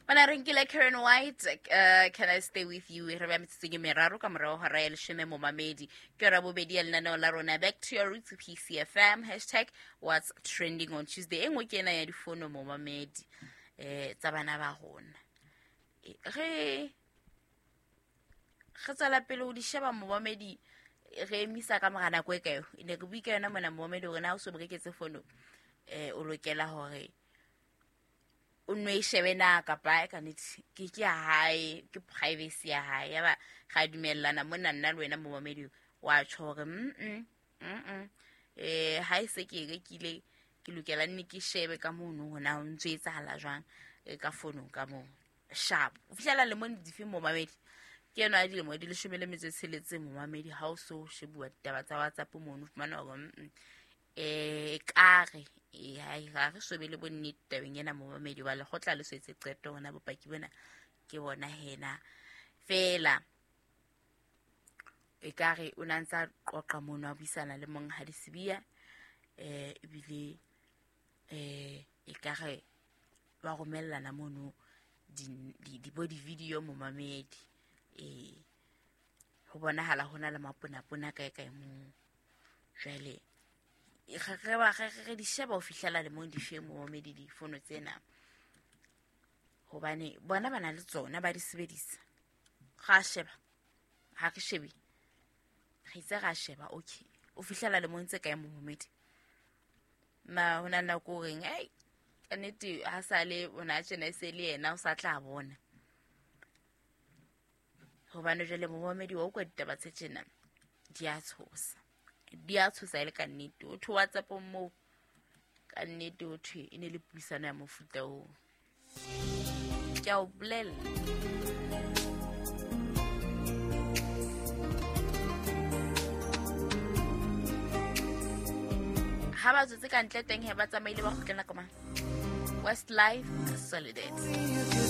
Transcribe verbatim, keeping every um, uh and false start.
Bana re nkile Karen White, uh, Can I Stay With You? Re ba metsotsong e meraro ka morao hora ya leshome momamedi. Ke yona bobedi ya lenaneo la rona Back to Your Roots P C F M, hashtag what's trending on Tuesday. E nngwe ke ena ya difono momamedi, eh, tsa bana ba rona. Re re tswela pele ho di sheba momamedi, re emisa ka mora nako e kae? E ne re bue ka yona mona momamedi hore na o so reketse fono, eh, o lokela hore o nno e shebe na kapa e ka nnete ke ke ya hae, ke privacy ya hae. Ya ba ra dumellana mona nna le wena momamedi wa tjho hore mm-mm, mm-mm, eh, ha e se ke e rekile, ke lokela nne ke shebe ka mono hore na ho ntso etsahala jwang, eh, ka fonong ka moo. Sharp. O fihlela lemong dife momamedi? Ke ena ya dilemo di leshome le metso e tsheletseng momamedi, ha o so shebuwa ditaba tsa WhatsApp mono, o fumana hore, mm-mm, eh, ekare, eh, ha e, ha re so be le bonnete tabeng ena momamedi, wa lekgotla le so etse qeto hona bopaki bona ke bona hena. Feela ekare o na ntsa qoqa mono a buisana le monghadi Sibiya, eh, ebile, eh, ekare ba romellana mono di, di, di bo di-video momamedi. Eh, ho bonahala ho na le maponapona kae kae moo. Jwale, re, re ba, re, re di sheba ho fihlela lemong di fe momamedi difono tsena. Hobane bona ba na le tsona, ba di sebedisa. Ra sheba, ha re shebe. Re itse ra sheba, okay. O fihlela lemong tse kae momamedi? Ma ho na le nako o reng, ei, ka nnete ha sale o na tjena e se le yena o sa tla bona. Hobane jwale momamedi wa utlwa ditaba tse tjena di a tshosa. Di a tshosa e le ka nnete. O thwe WhatsApp moo, ka nnete ho thwe e ne le puisano ya mofuta oo. Ke a o bolella. Ha ba tswetse ka ntle teng he, ba tsamaile ba kgutlela ka mang? Westlife Solidarity.